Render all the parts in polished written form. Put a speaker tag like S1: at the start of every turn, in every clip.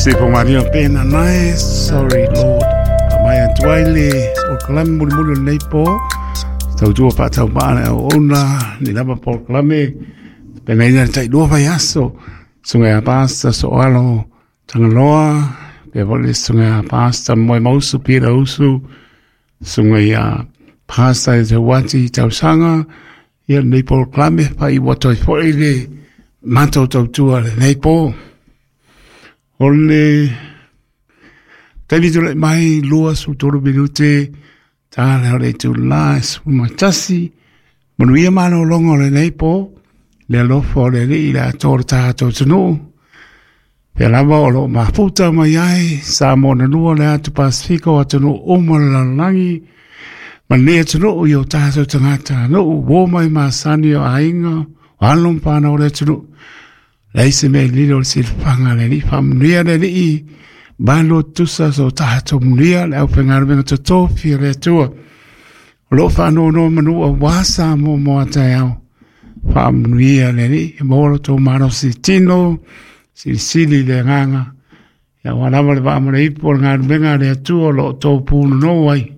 S1: Se po maria pena nai, sorry Lord. Pa mai atu ai le polokalame mulimuli o lenei po. Tautua faatauvaa le auauna ni lava polokalame. Penaina le tailua vaiaso. Susuga ia Pastor Soalo Tagaloa, pea foi le susuga ia Pastor Moemausu Peter Usu, susuga ia Pastor Tauati Tausaga, ia lenei polokalame faaiu atu ai foi le matou tautua lenei po. O le taimi tulai mai 23 minute ta le o le itulā e 11. Manuia malologa o lenei po, le alofa o le Alii i le atoa o le tatou atunuu. Pea lava o loo mafuta mai ai Samoa na lua le atu Pasifika o atunuu uma o le lalolagi. Ma lenei atunuu i o tatou tagata nuu uo mai masani o aiga, o alo ma fanau o le atunuu. Leai se mea e lilo i le silafaga a le Alii, faamanuia le Alii, malo tusa so tatou manuia le aufaigaluega totofi a le Atua. O loo faanonoa manu aua Samoa mo a taeao. Faamanuia le Alii, maua lo outou malosi tino, silisili le agaga, ia aua lava le vaa ma le ipu o le galuega a le Atua o lo o outou punonou ai.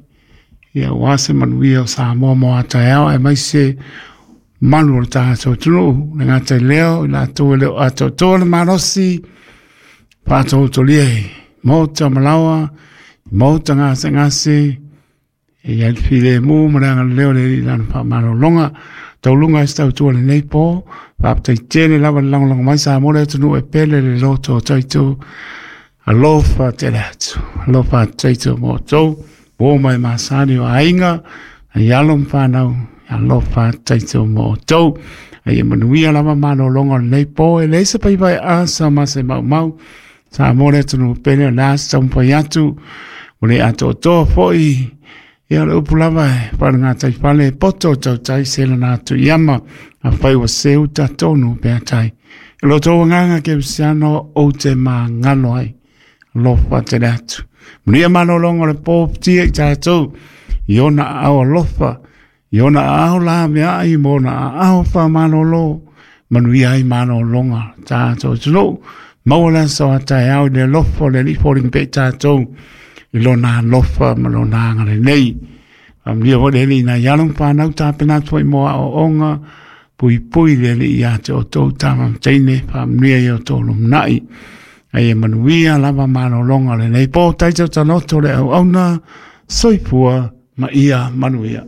S1: Ia aua se manuia o Samoa mo a taeao, aemaise malu o le tatou atunuu, le gata i lea o i latou e le o atoatoa le malosi, faatoletolia i maota ma laoa, maota gasegase, e i ai le filemu ma le agalelei o le Alii i lana faamalologa. Tauluga ai se tautua lenei po, faafetai tele lava le lagolago mai Samoa le atunuu e pele le loto o taito. Alofa tele atu, alofa atu taito mo outou, uo mai masani o aiga, ai alo ma fanau, alofa atu taito mo outou. Ai e manuia lava malologa o lenei po, e leai se paipai asa ma se maumau. Samoa le atunuu pele o le a se taumafai atu, ua le atoatoa foi. Ia o le upu lava e faalegatai fale e poto o tautai se lana atu i ama, afai ua seu tonu pea tai. I lo outou agaga kerisiano ou te magalo ai. Alofa tele atu. Manuia malologa o le po futia i tatou, i ona aao alofa, i ona aao laveai ma ona aao faamalolo, manuia ai malologa tatou atunuu. Maua le aso a taeao i le alofa o le Alii foliga pea i tatou i lona alofa ma lona agalelei. Faamanuia foi le Alii i nai alo ma fanau tapena atu foi mo aoaoga, puipui le Alii ia te outou tama ma teine, faamanuia i outou lumanai. Ai e manuia lava malologa o lenei po, taito tanoto le auauna, soifua ma ia manuia.